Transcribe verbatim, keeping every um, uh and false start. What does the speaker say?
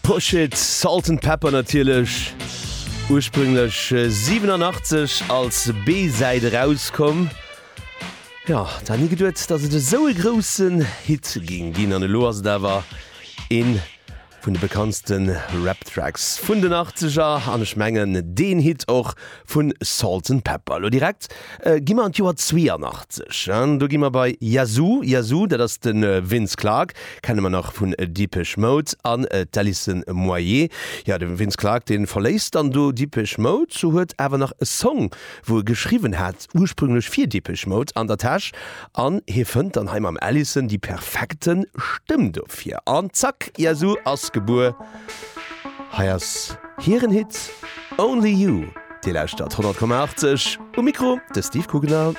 Push It, Salt-N-Pepa natierlech. Ursprünglech siwenanachtzeg als B-Säit erauskomm. Jo, da ni geduet, datt et esou e groussen Hit géing ginn an elo ass et awer een vun de bekanntste Rap-Tracks vun den Achtzeger an ech mengen deen Hit och vu Salt-N-Pepa. Elo direkt gi mer an d'Joer zweeanachtzeg an do gi mer bei Yazoo. Yazoo, dat ass de Vince Clarke, kenne mer nach vun Depeche Mode, an d'Alison Moyet. Jo, de Vince Clarke, dee verléisst dann do Depeche Mode, huet awer nach e Song, wou e geschriwwen hat, ursprünglech fir Depeche Mode, an der Täsch an hie fënnt dann hei mam Alison déi perfekte Stëmm dofir an zack, Yazoo ass gebuer. Hei ass hiren Hit Only You. Dir lauschtert honnert Komma achtzeg, um Mikro de Steve Kugener.